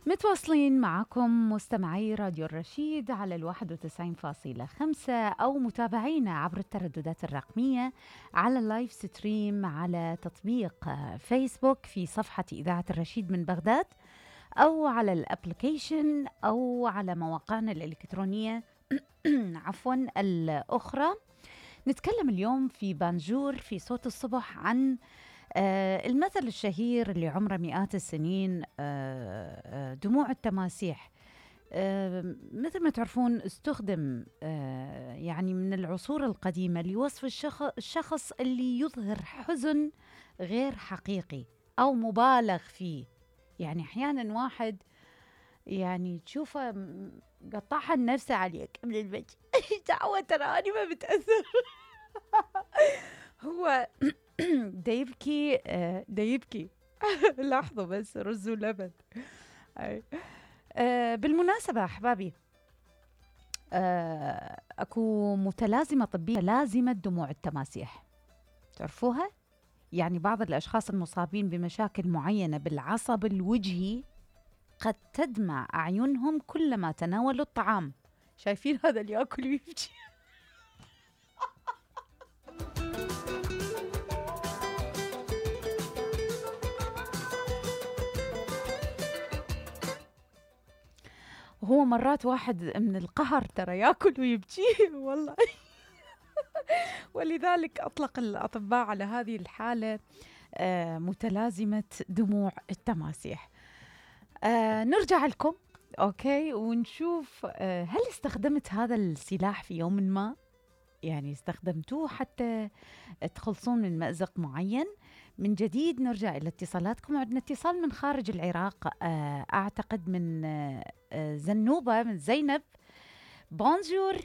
متواصلين معكم مستمعي راديو الرشيد على 91.5 أو متابعينا عبر الترددات الرقمية على اللايف ستريم على تطبيق فيسبوك في صفحة إذاعة الرشيد من بغداد، أو على الابليكيشن، أو على مواقعنا الإلكترونية عفوا الأخرى. نتكلم اليوم في بانجور في صوت الصبح عن المثل الشهير اللي عمره مئات السنين، دموع التماسيح. مثل ما تعرفون استخدم يعني من العصور القديمة لوصف الشخص اللي يظهر حزن غير حقيقي أو مبالغ فيه. يعني أحيانا واحد يعني تشوفه قطعها النفس عليك من الوجه دعوة ترى أنا ما بتأثر هو دا يبكي لاحظوا بس رز ولبن. بالمناسبة أحبابي، أكو متلازمة طبية، لازمة دموع التماسيح، تعرفوها؟ يعني بعض الأشخاص المصابين بمشاكل معينة بالعصب الوجهي قد تدمع أعينهم كلما تناولوا الطعام. شايفين هذا اللي يأكل ويبكي؟ هو مرات واحد من القهر ترى يأكل ويبكي والله. ولذلك أطلق الأطباء على هذه الحالة متلازمة دموع التماسيح. نرجع لكم أوكي ونشوف هل استخدمت هذا السلاح في يوم ما؟ يعني استخدمتوه حتى تخلصون من مأزق معين؟ من جديد نرجع إلى اتصالاتكم. عندنا اتصال من خارج العراق، أعتقد من زنوبة، من زينب. بونجور.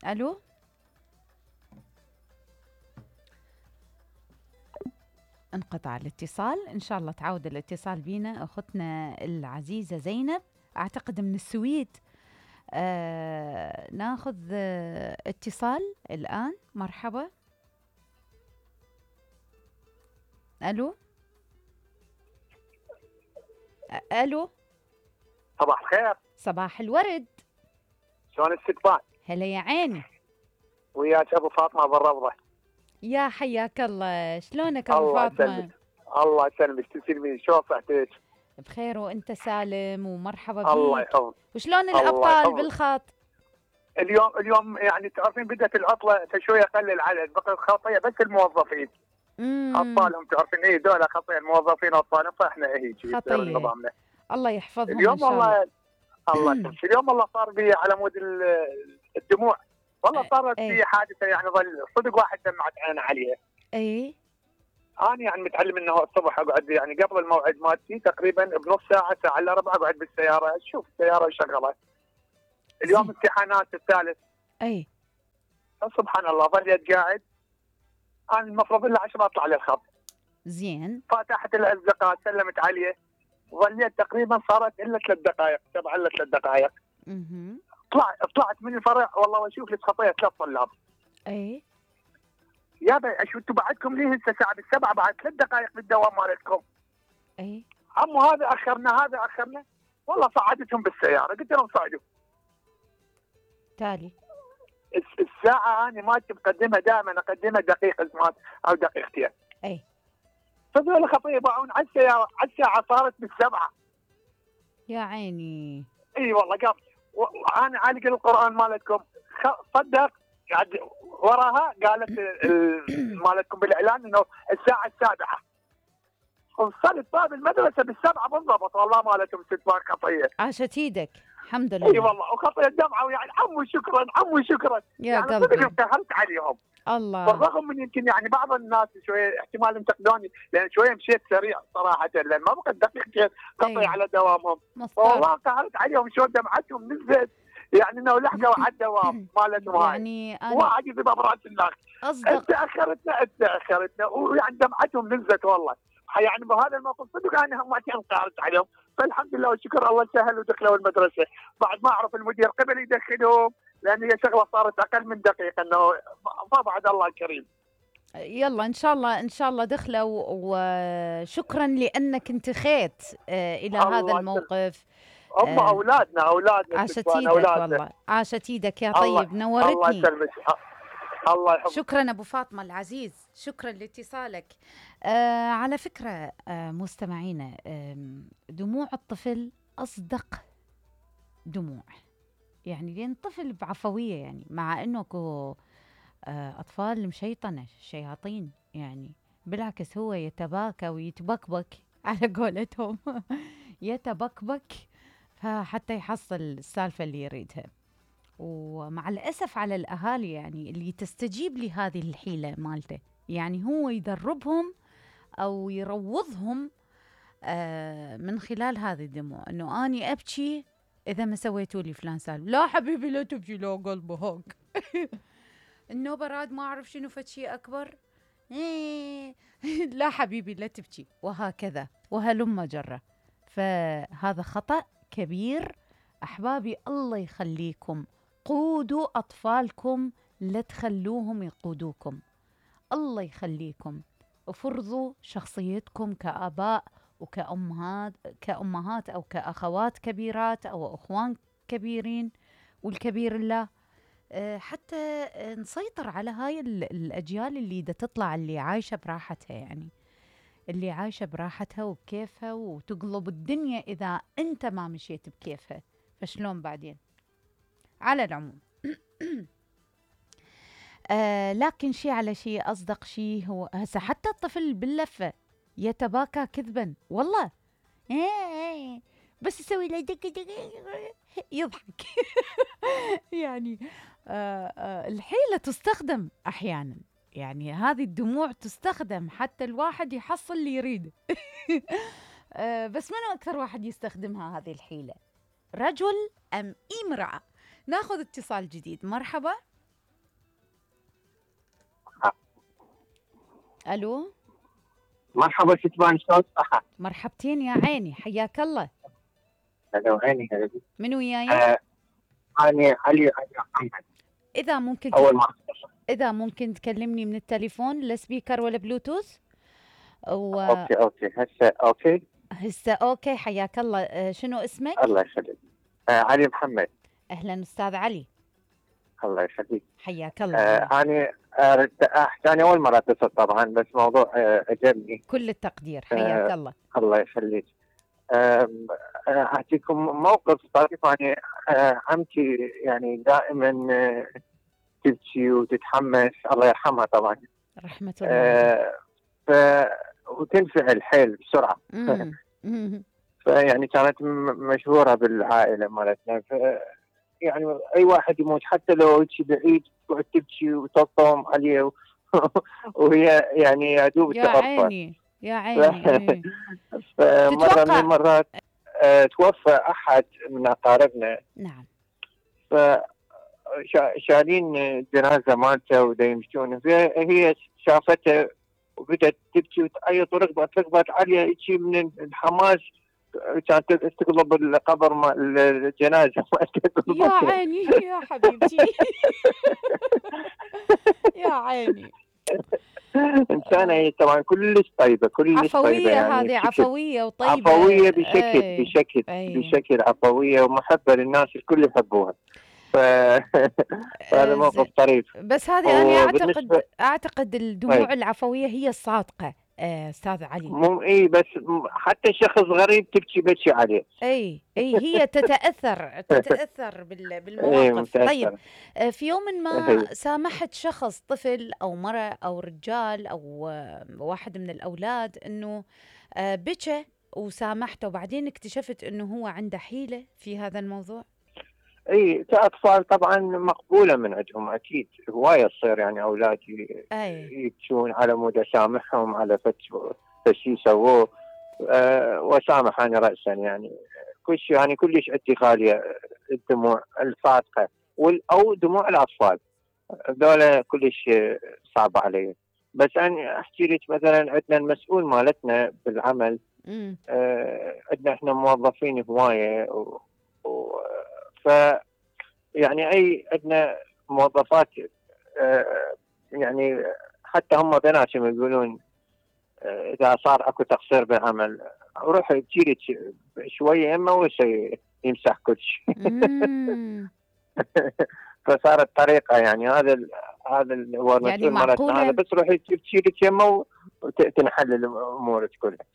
ألو، انقطع الاتصال. إن شاء الله تعود الاتصال بينا أختنا العزيزة زينب، أعتقد من السويد. ناخذ اتصال الآن. مرحبا. ألو ألو، صباح الخير. صباح الورد. شلون الستات؟ هلا يا عيني. وياك ابو فاطمه بالروضه. يا حياك الله، شلونك ابو فاطمه؟ الله يسلمك. تسلمين، شلون صحتك؟ بخير وانت سالم ومرحبا بك. الله يحفظك. وشلون الابطال بالخط؟ اليوم يعني تعرفين بدت العطله فشويه قل العدد، بقى خطيه بس الموظفين. اطفالهم تعرفين ايه دول خطيه، الموظفين واطفالهم، فاحنا هيك خطيه. الله يحفظهم اليوم ان شاء الله. الله يسلمك. اليوم والله صار بي على مود الدموع، والله صارت في حادثه يعني ظل صدق واحد دمعت عينه عليها. اي انا يعني متعلم انه الصبح اقعد يعني قبل الموعد مالتي تقريبا بنص ساعه ساعه الا ربع اقعد بالسياره اشوف السياره شغله. اليوم امتحانات الثالث. اي سبحان الله ظليت قاعد. انا المفروض الا 10 اطلع للخط. زين. فتحت الاصدقاء سلمت عليه، ظليت تقريبا صارت الا 3 دقائق 7 الا 3 دقائق. طلعت من الفرع والله واشوف لي خطيه 3 طلاب. اي يا بي اشو انتم بعدكم ليه هسه الساعه 7 بعد 3 دقائق بالدوام مالتكم؟ اي عمو هذا اخرنا والله صعدتهم بالسياره، قلت لهم صعدوا. تالي الساعه انا ما مقدمها، دائما اقدمها دقيقه زمان او دقيقتين. اي فذول خطيه باعون على السياره، على الساعه صارت بالسبعه. يا عيني. اي والله قام انا عالق القران مالتكم صدق قاعد وراها قالت مالتكم بالاعلان انه الساعه 7. وصلت باب المدرسه بالسبعه بالضبط، والله مالتهم 6 خطيه. عاشت ايدك الحمد لله. اي والله وخطيه دمعه، ويعني عمو شكرا يا يعني قلبي. صدق انتهرت عليهم. الله. بالرغم من يمكن يعني بعض الناس شويه احتمال ينتقدوني لان شويه مشيت سريع صراحه، لان ما بقى دقيقتين قطع على دوامهم. والله انتهرت عليهم شلون دمعتهم نزلت، يعني انه لحقوا على الدوام مالتهم هاي. يعني انا واحد يضرب براس الناس. اصدق اخرتنا ويعني دمعتهم نزلت والله. يعني بهذا الموقف صدق انا هم انقهرت عليهم، فالحمد لله والشكر الله سهل ودخلوا المدرسه. بعد ما اعرف المدير قبل يدخلهم لان هي شغله صارت اقل من دقيقه، انه فبعد الله الكريم. يلا ان شاء الله ان شاء الله دخلة، وشكرا لانك انتخيت الى هذا الله يسلمك. الموقف. هم آه، اولادنا عاشت الشبان ايدك اولادنا. والله، عاشت ايدك يا الله طيب، الله نورتني. يسلمك. الله يحفظك. شكرا ابو فاطمه العزيز، شكرا لاتصالك. على فكره مستمعينا، دموع الطفل اصدق دموع، يعني لان الطفل بعفويه، يعني مع انه اطفال مشيطنه شياطين يعني، بالعكس هو يتباكى ويتبكبك على قولتهم يتبكبك فحتى يحصل السالفه اللي يريدها. ومع الأسف على الأهالي يعني اللي تستجيب لهذه الحيلة مالته، يعني هو يدربهم أو يروضهم من خلال هذه الدموع، أنه أني أبكي إذا ما سويتوا لي فلان سالفة. لا حبيبي لا تبكي، لا قلبه هوك النوبة راد ما أعرف شنو فشي أكبر لا حبيبي لا تبكي، وهكذا وهلم جرة. فهذا خطأ كبير. أحبابي الله يخليكم، قودوا أطفالكم، لا تخلوهم يقودوكم. الله يخليكم، افرضوا شخصيتكم كآباء كأمهات أو كأخوات كبيرات أو أخوان كبيرين، والكبير الله، حتى نسيطر على هاي الأجيال اللي دا تطلع، اللي عايشة براحتها، يعني اللي عايشة براحتها وبكيفها، وتقلب الدنيا إذا أنت ما مشيت بكيفها، فشلون بعدين؟ على العموم لكن شيء على شيء أصدق شيء هو هسه حتى الطفل باللفة يتباكى كذبا والله، بس يسوي له دق دق يضحك يعني الحيلة تستخدم أحيانا، يعني هذه الدموع تستخدم حتى الواحد يحصل اللي يريده بس منو أكثر واحد يستخدمها هذه الحيلة، رجل أم امرأة؟ ناخذ اتصال جديد. مرحبا. ألو مرحبا شتبان، شلون صحة؟ مرحبتين يا عيني، حياك الله. هلا عيني هلا. من وياي؟ أنا علي محمد. إذا ممكن أول ما إذا ممكن تكلمني من التليفون، لا سبيكر ولا بلوتوث. أوكي هسه أوكي. هسه أوكي، حياك الله. شنو اسمك؟ الله يخليك. علي محمد. أهلا أستاذ علي. الله يخليك. حياك الله. أنا ثاني أول مرة أتصل طبعا، بس موضوع عجبني. كل التقدير، حياك الله. الله يخليك. أعطيكم موقف طريف. يعني عمتي يعني دائما تبكي وتتحمس، الله يرحمها طبعا. رحمة الله. وتنفعل حيل بسرعة. فيعني كانت مشهورة بالعائلة مالتنا. يعني أي واحد يموت حتى لو يجي بعيد تقعد تبكي وتطم عليه وهي يعني يا دوب يا تغفر. عيني يا عيني. فمرة من المرات توفى أحد من أقاربنا. نعم. فشالين الجنازة مالته ودا يمشون، فهي شافته وبدأت تبكي وتعيط وركبت عليه يجي من الحماس، كانت تقلب القبر مال الجنازة. يا عيني يا حبيبتي يا عيني. إنسانة هي طبعا كلش طيبة، كلش عفوية طيبة يعني هذه، عفوية وطيبة. عفوية بشكل عفوية ومحبة للناس، الكل يحبوها. فهذا موقف طريف. بس هذه أنا أعتقد الدموع العفوية هي الصادقة أستاذ علي. مو بس حتى شخص غريب تبكي عليه. هي تتأثر بالمواقف. طيب في يوم ما سامحت شخص، طفل أو مرأة أو رجال أو واحد من الأولاد، أنه بكى وسامحته، وبعدين اكتشفت أنه هو عنده حيلة في هذا الموضوع. كأطفال طبعا مقبولة من عندهم، أكيد هواية تصير يعني أولاد يبكون على مود أسامحهم على فشي سووه. وسامح أنا رأسا، يعني كلش عندي غالية الدموع الصادقة أو دموع الأطفال، دولة كلش صعبة علي. بس أنا أحكي لك مثلا، عندنا المسؤول مالتنا بالعمل، عندنا إحنا موظفين هواية يعني عندنا موظفات يعني حتى هم بناتهم يقولون اذا صار اكو تقصير بالعمل روح تجيلي شويه يمه يمسح كل شيء. فصارت طريقه يعني هذا هو المسؤول يعني مالتنا، هذا بس روحي تشيلي يمه وتنحل الامور كلها.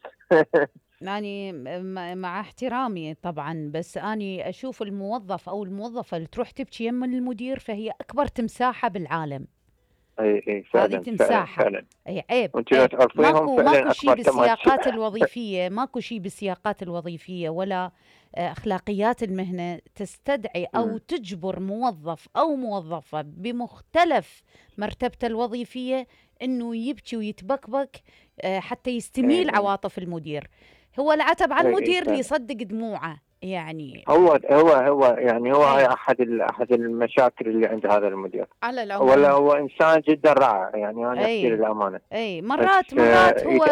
يعني مع احترامي طبعا، بس أني أشوف الموظف أو الموظفة اللي تروح تبكي يم المدير فهي أكبر تمساحة بالعالم. اي فعلا، هذه تمساحة فعلا. أي عيب. ماكو شيء بالسياقات الوظيفية، ماكو شيء بالسياقات الوظيفية ولا أخلاقيات المهنة تستدعي أو تجبر موظف أو موظفة بمختلف مرتبته الوظيفية إنه يبكي ويتبكبك حتى يستميل عواطف المدير. هو العتب على المدير اللي يصدق دموعه. يعني هو يعني هو هاي احد المشاكل اللي عند هذا المدير على العموم. ولا هو انسان جدا رائع، يعني انا احكي للامانه. مرات هو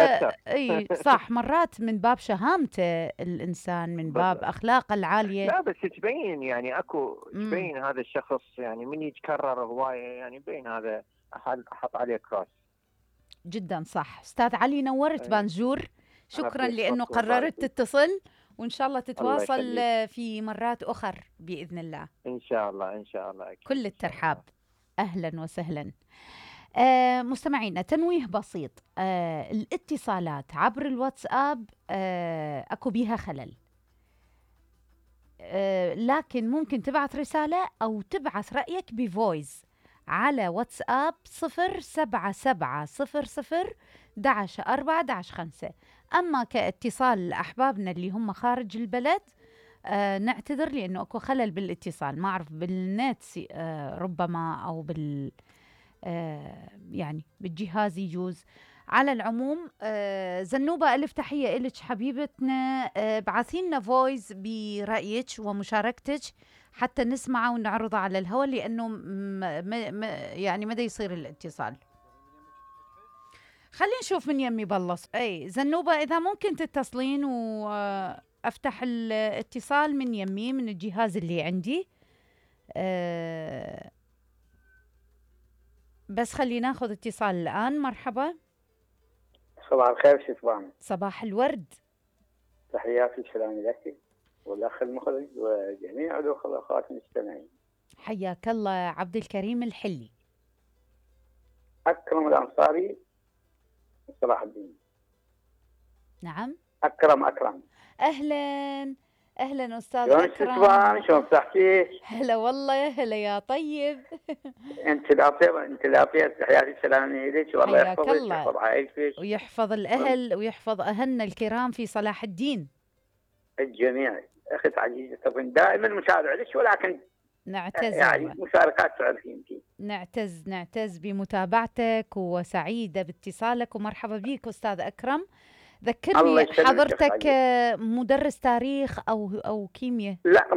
صح، مرات من باب شهامته الانسان، من باب اخلاقه العاليه. لا بس تبين يعني تبين هذا الشخص يعني من يتكرر هوايه، يعني بين هذا احط عليه كراس. جدا صح. استاذ علي نورت بانجور، شكرا لانه قررت تتصل، وإن شاء الله تتواصل في مرات أخر بإذن الله. إن شاء الله أكيد. كل الترحاب. أهلا وسهلا. مستمعينا، تنويه بسيط، الاتصالات عبر الواتساب أكو بيها خلل، لكن ممكن تبعث رسالة أو تبعث رأيك بفويس على واتساب 077001145. أما كاتصال أحبابنا اللي هم خارج البلد نعتذر لأنه أكو خلل بالاتصال، ما أعرف بالنت ربما أو يعني بالجهاز يجوز. على العموم زنوبة ألف تحية إلك حبيبتنا، بعثينا فويس برأيك ومشاركتك حتى نسمعه ونعرضه على الهواء، لأنه يعني مدى يصير الاتصال. خلينا نشوف من يمي بلص. زنوبة إذا ممكن تتصلين وأفتح الاتصال من يمي من الجهاز اللي عندي، بس خلينا ناخذ اتصال الآن. مرحبا. صباح الخير شتبان. صباح الورد. تحياتي وسلامي لك والأخ المخرج وجميع الأخوة والأخوات المستمعين. حياك الله عبد الكريم الحلي. أكرم الأنصاري صلاح الدين. نعم. أكرم. أهلا أستاذ أكرم. شلون شلون صحتك؟ هلا والله، يا هلا يا طيب. أنت الأطيب تحياتي وسلامي لك، والله يحفظك ويحفظ عائلتك ويحفظ الأهل ويحفظ أهلنا الكرام في صلاح الدين. الجميع. أخت عزيزة طبعا دائما متابع لك، ولكن نعتز يعني مشاركات تعرفين فيه. نعتز بمتابعتك وسعيدة باتصالك، ومرحبا بك أستاذ أكرم. ذكرني حضرتك مدرس تاريخ أو كيمياء؟ لا،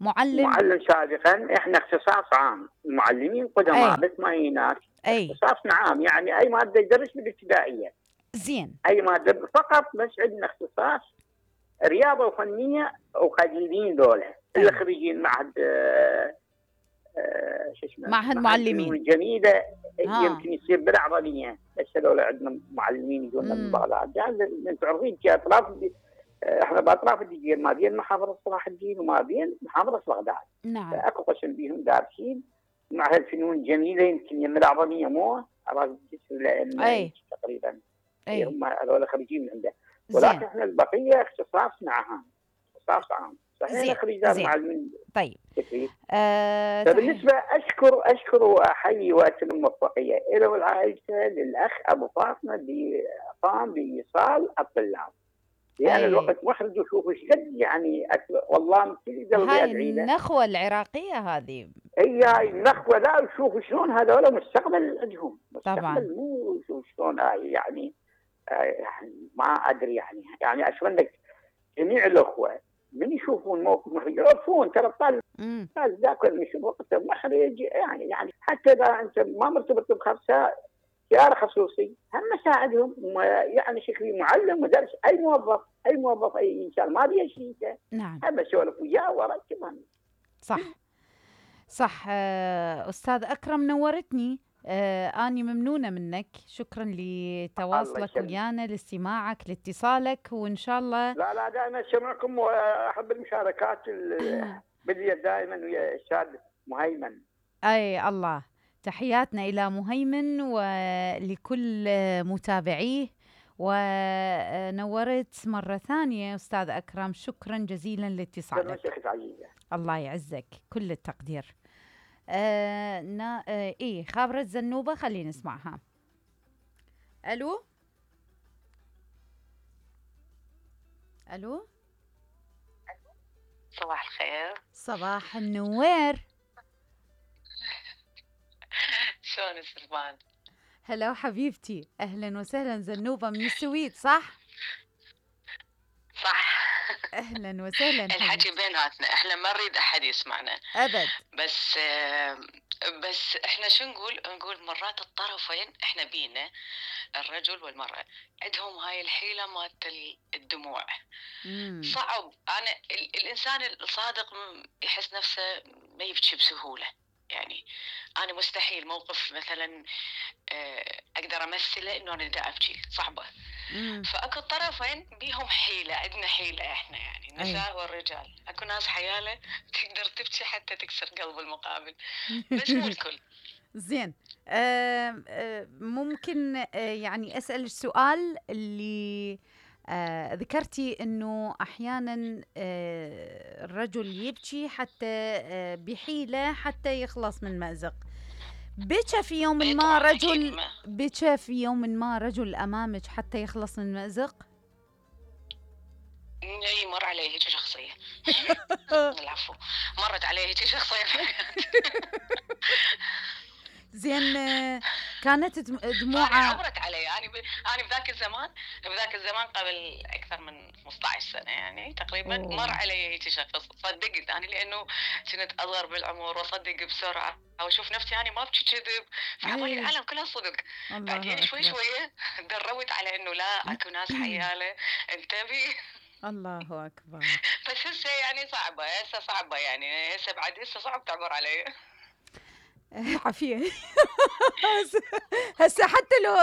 معلم سابقا. احنا اختصاص عام، المعلمين قدماء بس ما هناك اختصاصنا عام، يعني اي ماده يدرس بالابتدائيه. زين. اي ماده فقط، بس عندنا اختصاص رياضه وفنيه وخريجين دولة اللي خريجين معهد معهد معلمين الجميله. يمكن يصير بالعربيه، بس لو عندنا معلمين يجونا من بغداد. يعني انتم عارفين اطراف، احنا باطراف الدجيل، ما بين محافظه صلاح الدين وما بين محافظه بغداد. نعم. فاكو قسم بيهم دارسين معهد الفنون الجميله، يمكن يم العربيه مو راس الجسر تقريبا. هم هذول خريجين من عنده، ولكن احنا البقيه اختصاصنا عام، اختصاص عام. صحيح خريجات معلمين. طيب. فبالنسبه اشكر واحيي واتم الموفقيه الى والعائله للاخ ابو فاطمه اللي قام بايصال الطلاب. لان الوقت مخرج وشوف ايش قد يعني والله من كل قلبي ادعي له. النخوه العراقيه هذه. هاي النخوه، لا شوفوا شلون هذول مستقبل عندهم. طبعا. مو شلون يعني ما ادري يعني اتمنى جميع الاخوه من يشوفون موقف محرج يعرفون ترى الطالب ذاك يشوف وقته محرج، يعني حتى اذا انت ما مرتبط بخمسه سياره خصوصي هم ساعدهم. يعني شكلي معلم مدرس اي موظف اي انسان ما بيه شيء. نعم. هم اسولف وياه واركبهم. صح. استاذ اكرم نورتني. أني ممنونة منك، شكرا لتواصلك ويانا، لاستماعك، لاتصالك، وإن شاء الله. لا دائما أسمعكم وأحب المشاركات بدي دائما ويا الأستاذ مهيمن. أي الله، تحياتنا إلى مهيمن ولكل متابعيه. ونورت مرة ثانية أستاذ أكرم، شكرا جزيلا لاتصالك. الله يعزك، كل التقدير. خابرة زنوبة، خلينا نسمعها. ألو صباح الخير. صباح النوير. شلون السلمان؟ هلا حبيبتي، أهلا وسهلا. زنوبة من السويد صح؟ صح. أهلا وسهلا. الحكي بيناتنا، احنا ما نريد أحد يسمعنا أبد. بس احنا شو نقول مرات الطرفين احنا بينا الرجل والمرأة عندهم هاي الحيلة مالت الدموع. صعب. أنا الإنسان الصادق يحس نفسه ما يبكي بسهولة. يعني أنا مستحيل موقف مثلا أقدر أمثله إنه أنا دا أبكي، صعبة. فأكو الطرفين بيهم حيلة، عندنا حيلة إحنا يعني النساء والرجال. أكو ناس حيالة تقدر تبكي حتى تكسر قلب المقابل، بس مو الكل. زين. ممكن يعني أسأل السؤال اللي ذكرتي إنه أحيانا الرجل يبكي حتى بحيلة حتى يخلص من مأزق. بكى في يوم ما رجل أمامك حتى يخلص من مأزق؟ اي مر علي هيك شخصية. العفو، مرت علي هيك شخصية. زين. كانت دموعها عبرت علي. أنا بذاك الزمان قبل أكثر من 15 سنة يعني تقريبا. مر علي هيك شخص، صدقت أنا لأنه كنت أصغر بالعمر وأصدق بسرعة وأشوف نفسي أنا ما بكي كذب، فعمالي العالم كلها صدق. بعدين شوي دربت على إنه لا، أكو ناس حيالة، انتبهي. الله أكبر. بس هسه يعني صعبة يعني هسه صعب تعبر علي. عافية. هسه حتى لو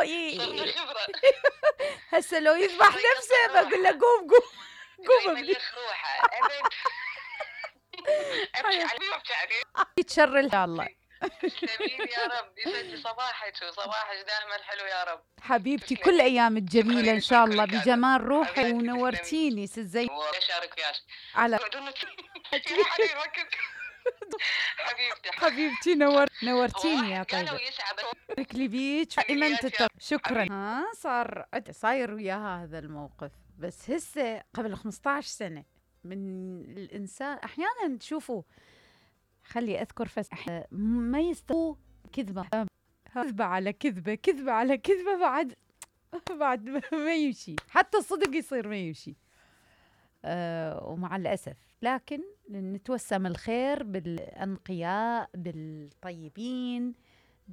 هسه لو يذبح نفسه بقول له قوم يملخ روحه. ابد. ابكي عليه وابكي عليه. يتشر ان شاء الله. تسلمين يا رب، يسعد صباحك دائما حلو يا رب حبيبتي. كل ايامك جميلة ان شاء الله بجمال روحي، ونورتيني سزي. اشارك وياك على حبيبتي نورتيني يا طيبة. ركلي بيك دائما شكرا. صاير وياها هذا الموقف، بس هسه قبل 15 سنة من الإنسان. أحيانا تشوفوا، خلي أذكر ما يستوى كذبة على كذبة بعد ما يمشي، حتى الصدق يصير ما يمشي. ومع الأسف، لكن نتوسم الخير بالأنقياء بالطيبين